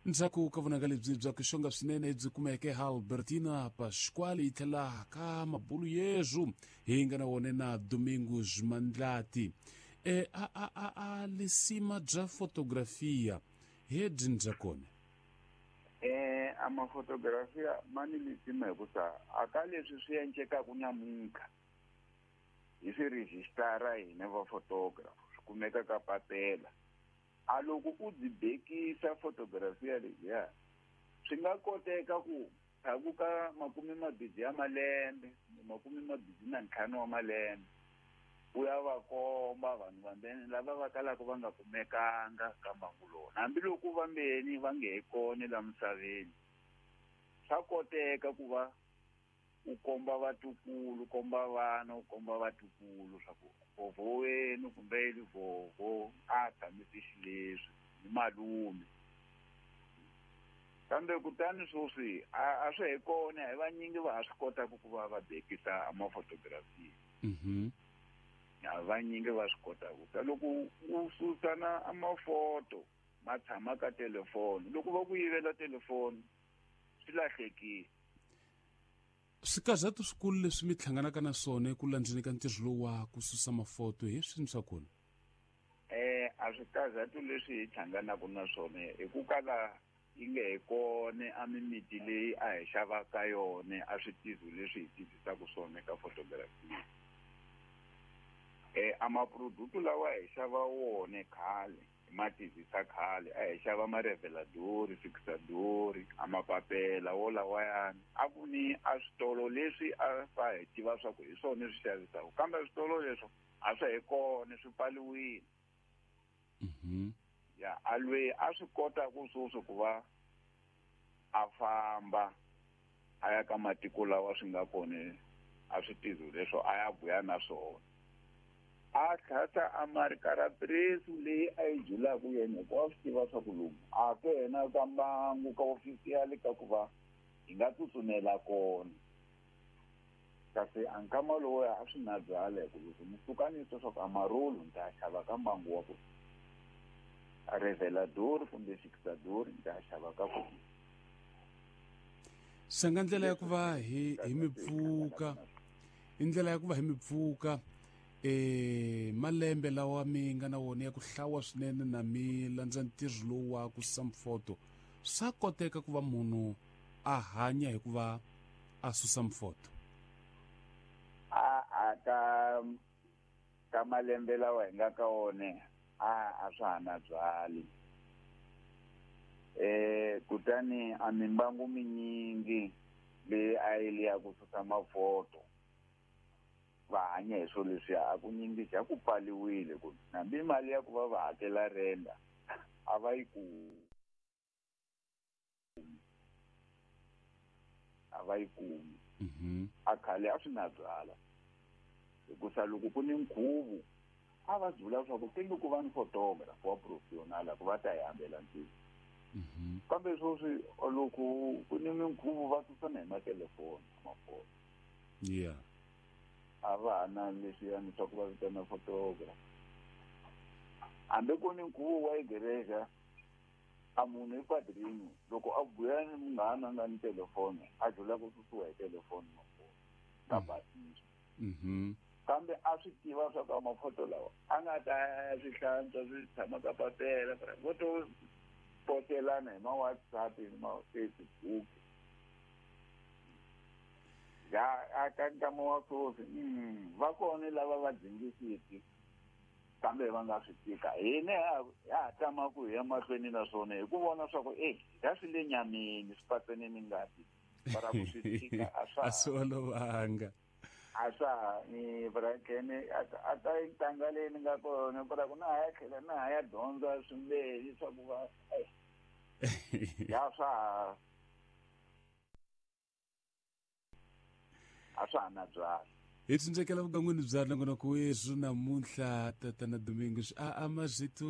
Ndzhaku ka vunanga lebyi bya ku xonga swinene byi kumeke ha Albertina Pasquale yi tlhela ka mabulu yezu hi nga na wona na Domingos Mandlati. E a a a a lisima bya fotografia he byi ndza kona. A mafotografia ma ni lisima hikusa a ka leswi swi endlekaka namuntlha hi swi rejistara hina va photographer swi kumeka ka papela. A loko u byi bekisa fotografia leyiya swi nga koteka ku ndzhaku ka 20 ya malembe 25 wa malembe u ya va komba vanhu vambeni lava va kalaka va nga kumekanga ka mbangu lowu, hambiloko vambeni va nge he kona la misaveni. Swa koteka ku va u komba vatukulu, komba vana, u komba vatukulu swa ku vovho wenu kumbe ili vovho a tshamise xileswi ni malume. Kambe kutani sweswi a swi he kona, hi vanyingi va ha swi kotaka ku va va bekisa mafotografia. A vanyingi va swi kotaka. Ta loko u susa na mafoto ma tshama ka telefoni, loko va ku yivela telefoni swi lahlekile. Swikazatu swikulu leswi mi hlanganaka na swona eku landzeni ka ntirho lowu wa ku susa mafoto hi swini swa kona? A swikazatu leswi hi hlanganaka na swona hi ku kala yi nge he kona a mimiti leyi a hi xavaka yona a switizo leswi hi tizisaka swona eka photography. A maproduct lawa hi xava wona khale, hi ma tizisa khale, a hi xava mareveladori, fixadori, a mapapela wo lawayani. A ku ni a switolo leswi a va hi tiva swa ku hi swona swi xavisaka, kambe switolo leswo a swa he kona, swi pfaliwile. Ya a lweyi a swi kota ku sweswi ku va a famba a ya ka matiko lawa swi nga kona a swi tizo leswo a ya vuya na swona. A tlhasa a marikarapresu leyi a yi julaka yena hikuva a swi tiva swa ku lomu a ke yena ka mbangu ka ofisiyali ka ku va hi nga tsutsumela kona. Kasi a nkama lowuya a swi na byala hi ku loko ni suka ni twa swa ku a marolo ni ta xava ka mbangu wa ku revelador kumbe fixador ni ta xava ka ku. Sanga ndlela ya ku va hi mi pfuka, i ndlela ya ku va hi mi pfuka malembe lawa mi nga na wona ya ku hlawa swinene na mi landza ntirho lowu wa ku susa mifoto. Swa koteka ku va munhu a hanya hi ku va a susa mifoto? A ka malembe lawa hi nga ka wona a swa ha na byali. Kutani a mimbangu minyingi leyi a yi le ya ku susa mafoto va hanya hi swilo leswiya, a ku nyingi xa ku pfaliwile ku hambi mali ya ku va va hakela renda a va yi kumi. A va yi kumi. A khale a swi na byala hikusa loko ku ni nkhuvo a va byula swa ku tenge ku va ni photographer wa professional ku va ta hi hambela ntirho. Kambe sweswi loko ku ni minkhuvo va susana hi matelefoni mafoto. A va ha na leswiyani swa ku va vitana photographer. Hambi ku ni nkhuvo wa igreja, a munhu i padrino loko a buya ni munghana a nga ni telefoni a dlula ku susiwa hi telefoni mafoto ka basisa. Kambe a swi tiva swa ka mafoto lawa a nga ta ya swi hlantswa swi tshama ka papela, vo to potelana hi ma WhatsApp ni ma Facebook. Ya a ka nkama wa sweswi va kona lava va dzingisiki kambe va nga swi tika. Hina ha ha tama ku hi ya mahlweni na swona hi ku vona swa ku ya swi le nyameni swi patsene ni ngati, para ku swi tika a swa a swi olovanga. A swa ha ni brakene a ta ntanga leyi ni nga kona para ku na ha ya tlhela na ha ya dyondza swimbirhi swa ku va ya swa ha a swa ha na byala. Hi tsindzekela vukangwini bya nongonoko wethu namuntlha tatana Domingos a mazito.